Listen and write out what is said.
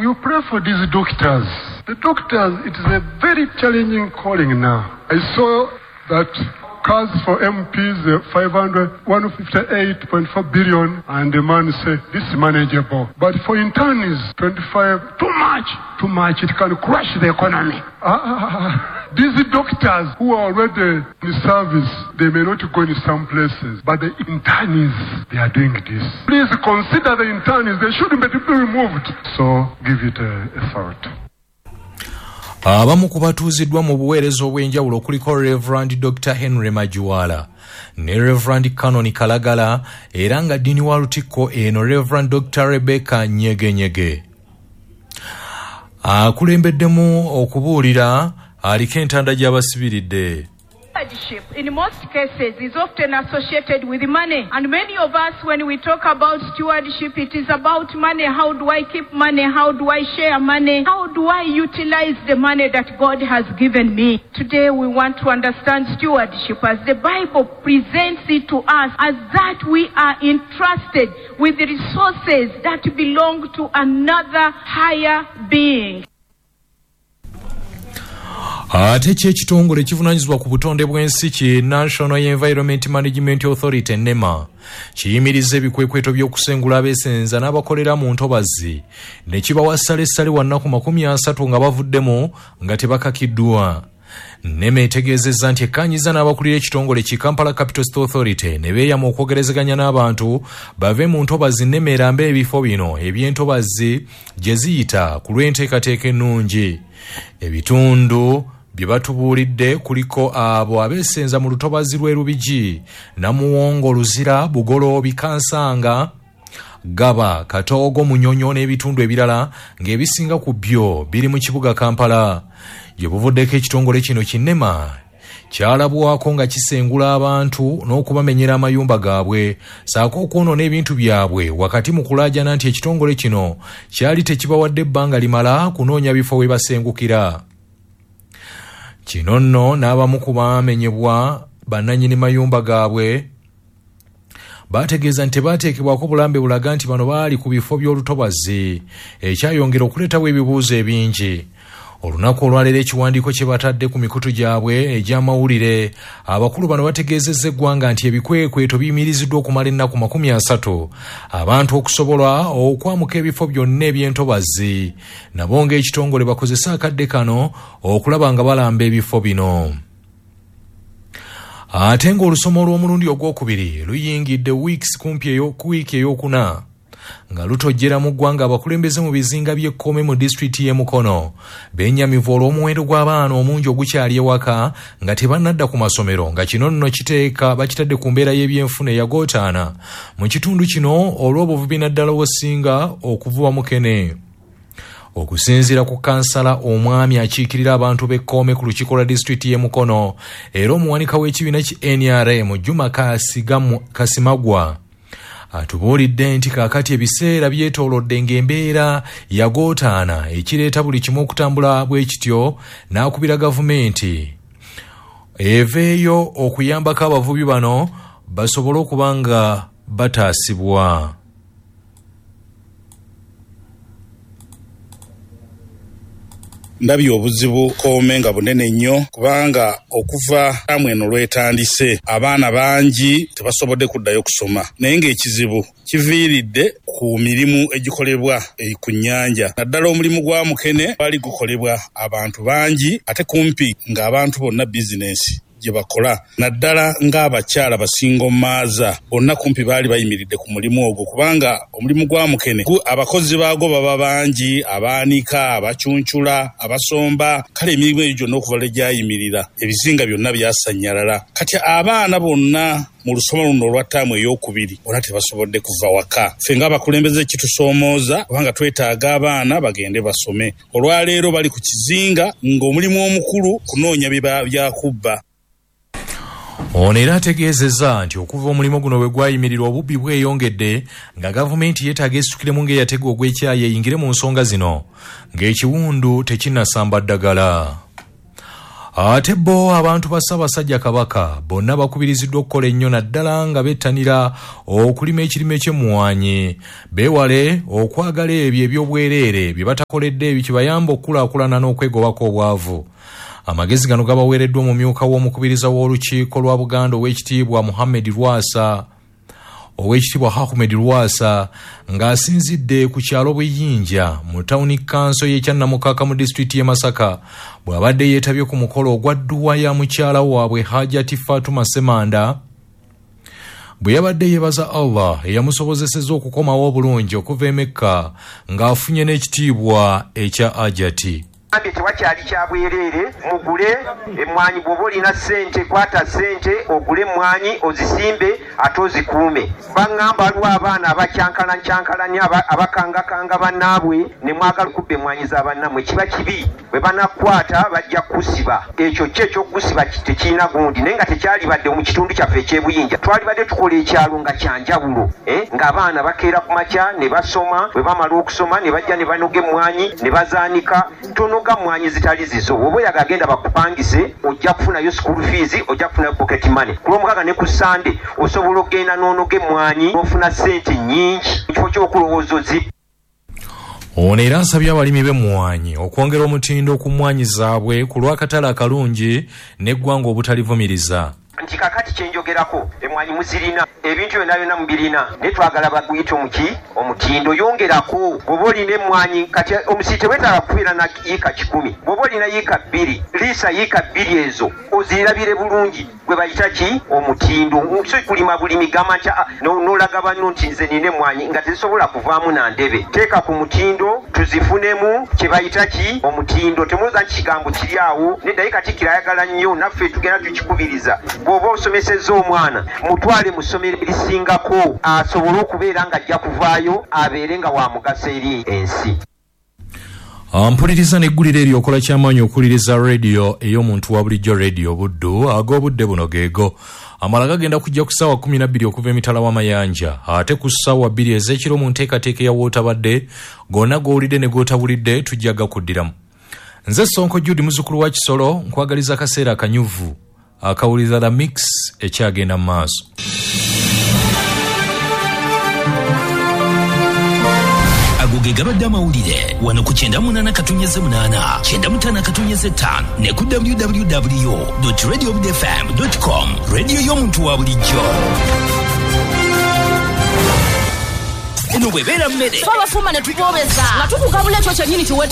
You pray for these doctors. The doctors, it is a very challenging calling now. I saw that cars for MPs, 558.4 billion, and the man said, this is manageable. But for interns, 25, too much, it can crash the economy. These doctors who are already in service, they may not go in some places, but the interns, they are doing this. Please consider the interns, they shouldn't be removed. So give it a thought. Abamu ku batuuziddwa mu buweereza obw'enjawulo kuliko Reverend Dr. Henry Majuwala ne Reverend Canon Kalagala, era nga ddiini wa Lutikko eno Reverend Dr. Rebecca Nyegenyege akulembeddemu okubuulira, aliko entanda gy'abasibiridde. Stewardship in most cases is often associated with money, and many of us, when we talk about stewardship, it is about money. How do I keep money? How do I share money? How do I utilize the money that God has given me? Today we want to understand stewardship as the Bible presents it to us, as that we are entrusted with the resources that belong to another higher being. Ate ki ekitongole ekivunaanyizibwa ku butonde bw'ensi ki National Environment Management Authority NEMA kiyimiriza ebikwekweto by'okusengula abeesenza n'abakolera mu ntobazi ne kibawa ssalessale wa nnaku 30 nga bavuddemu nga tebakakiddwa. NEMA etegeezezza nti ekkaanyiza n'abakulira ekitongole ki Kampala Capital City Authority ne beeyama okwogerezeganya n'abantu bave mu ntobazi NEMA erambe ebifo bino eby'entobazi gye ziyita ku lw'enteekateeka ennungi. Ebitundu bye batubuulidde kuliko abo abeesenza mu lutobazi lw'e Lubigi, Namuwongo, Luzira, Bugoloobi, Kansanga, Gaba, Katoogo, Munyonyo n'ebitundu ebirala ng'ebisinga ku byo biri mu kibuga Kampala. Gye buvuddeko ekitongole kino ki NEMA kyalabwako nga kisengula abantu n'okubamenyera amayumba gaabwe ssaako okwonoona ebintu byabwe, wakati mu kulaajana nti ekitongole kino kyali tekibawadde ebbanga limala kunoonya bifo we basengukira. Kino nno n'abamu ku baamenyebwa bannannyini mayumba gaabwe bategeeza nti tebateekebwako bulambe bulaga nti bano baali ku bifo by'olutobazi, ekyayongera okuleetawo ebibuuzo ebingi. Olunaku olwaleero ekiwandiiko kye batadde ku mikutu gyabwe egy'amawulire, abakulu bano bategeezezza eggwanga nti ebikwekweto biyimiriziddwa okumala ennaku 30 abantu okusobola okwamuka ebifo byonna eby'entobazi, nabo ng'ekitongole bakozese akadde kano okulaba nga balamba ebifo bino. Ate ng'olusoma olw'omulundi ogwokubiri luyingidde weeks kumpi ku wiiki ey'okuna nga lutojjera mu ggwanga, abakulembeze mu bizinga by'Ekkoome mu disitulikiti y'e Mukono bennyamivu olw'omuwendo gw'abaana omungi ogukyali ewaka nga tebannadda ku masomero, nga kino nno kiteeka bakitadde ku mbeera y'ebyenfuna eyagootaana mu kitundu kino olw'obuvubi naddala obusinga okuvuba mukene. Okusinziira ku kansala omwami akiikirira abantu b'Ekkoome ku lukiiko lwa disitulikiti y'e Mukono era omuwanika w'ekibiina ki NRM Juma Kasimagwa atubuulidde nti kaakati ebiseera byetoolodde ng'embeera yagootaana ekireeta buli kimu okutambula bwe kityo, n'akubira gavumenti eveeyo okuyambako abavubi bano basobole okuba nga bataasibwa. Ndabye obuzibu Kkoome nga bunene nnyo, kubanga okuva taamu eno lwetandise abaana bangi tebasobodde kuddayo kusoma, naye ng'ekizibu kiviiridde ku mirimu egikolebwa ku nnyanja, naddala omulimu gwa mukene gwali gukolebwa abantu bangi ate kumpi ng'abantu bonna bizinensi gye bakola, naddala ng'abakyala basingo maaza bonna kumpi baali bayimiridde ku mulimu ogwo, kubanga omulimu gwa mukene abakozi baagwo baba bangi, abaanika, abacuncula, abasomba, kale emirimu egyo gyonna okuva lwe gyayimirira ebizinga byonna byasannyalala. Kati abaana bonna mu lusoma luno olwa ttaamu ey'okubiri bonna tebasobodde kuva waka. Ffe ng'abakulembeze kitusoomooza kubanga twetaaga abaana bagende basome. Olwaleero bali ku kizinga ng'omulimu omukulu kunoonya byakubba. Ono era ategeezezza nti okuva omulimu guno bwe gwayimirirwa obubbi bweyongedde, nga gavumenti yeetaaga esitukiremu ng'eyatega ogw'ekyayi eyingire mu nsonga zino ng'ekiwundu tekinnasamba ddagala. Ate bo abantu ba Ssaabasajja Kabaka bonna bakubiriziddwa okukola ennyo, naddala nga bettanira okulima ekirime ky'emmwanyi, beewale okwagala ebyo eby'obwereere bye batakoledde, ebyo kibayamba okukulaakulana n'okwegobako obwavu. Amagezi gano gabaweereddwa omumyuka w'omukubiriza w'Olukiiko lwa Buganda, Oweekitiibwa Muhammed Lwasa, Oweekitiibwa Ahmed Lwasa, ng'asinzidde ku kyalo Buyinja mu tawuni kanso y'ekyannamukaka mu disitulikiti y'e Masaka, bw'abadde yeetabye ku mukolo ogwa dduwa ya mukyala waabwe Hajati Fatuma Semanda, bwe yabadde yeebaza Allah eyamusobozesezza okukomawo obulungi okuva e Mekka ng'afunye n'ekitiibwa ekya Ajati. Gambye tewakyali kya bwereere, mugule emmwanyi. Bw'oba olina ssente, kwata ssente ogule emmwanyi, ozisimbe ate ozikuume. Baŋŋamba waliwo abaana abakyankalanyankalanya, abakangakanga bannaabwe, ne mwagala okubba emmwanyi za bannammwe. Kiba kibi, bwe banakukwata bajja kukusiba. Ekyo kyo ekyokukusiba tekirina gundi, naye nga tekyalibadde mu kitundu kyaffe eky'Ebuyinja. Twalibadde tukola ekyalo nga kyanjawulo, eh? Ng'abaana bakeera ku makya ne basoma, bwe bamala okusoma ne bajja ne banoga emmwanyi ne bazaanika. Tonoga mmwanyi zitali zizo. Bw'oba oyagala, genda bakupangise, ojja kufunayo school fees, ojja kufunayo pocket money. Ku Lwomukaaga ne ku Sande osobola okugenda n'onoga emmwanyi n'ofuna ssente nnyingi mu kifo ky'okulowooza ozi Ono era asabye abalimi b'emmwanyi okwongera omutindo ku mmwanyi zaabwe ku lw'akatale akalungi n'eggwanga obutalivumiriza. Nti kakati kyenjogerako, emmwanyi muzirina, ebintu byonna byonna mubirina, naye twagala baguyite omuki omutindo. Yongerako bw'oba olina emmwanyi. Kati omusiri tewetaaga kubeera na yiika 100. Bw'oba olina yiika 2, liisa yiika 2 ezo ozirabire bulungi, gwe bayita ki omutindo. Si kulima bulimi gamba nti n'olaga banno nti nze nina emmwanyi nga tezisobola kuvaamu na ndebe. Teeka ku mutindo tuzifunemu, kye bayita ki omutindo. Temulowooza nti kigambo kiri awo, nedda. Ye Katikkiro ayagala nnyo, naffe tugenda tukikubiriza. Bw'oba osomesezza omwana, mutwale mu ssomero erisingako asobole okubeera ng'ajja kuvaayo abeere nga wa mugaso eri ensi. Mpuliriza n'eggulire eryo, okola kyamaanyi okuwuliriza rediyo ey'omuntu wa bulijjo, Rediyo Buddu. Ag'obudde buno geego amala gagenda kujja ku ssaawa 12 okuva emitala w'amayanja, ate ku ssaawa 2 ez'ekiro mu nteekateeka eya wootabadde. Gonna g'owulidde ne g'otabulidde tujja gakuddiramu. Nze Sonko Jude, muzzukulu wa Kisolo, nkwagaliza akaseera akanyuvu akawuliriza The Mix ekyagenda mu maaso. Ago ge gabadde amawulire wano ku 98.8, 95.5 ne ku www.radiobudfm.com, rediyo y'omuntu wa bulijjo. Eno bwebeera mmere Twabafumba ne tuboobeza nga tukugabula ekyo kyennyini kiwe.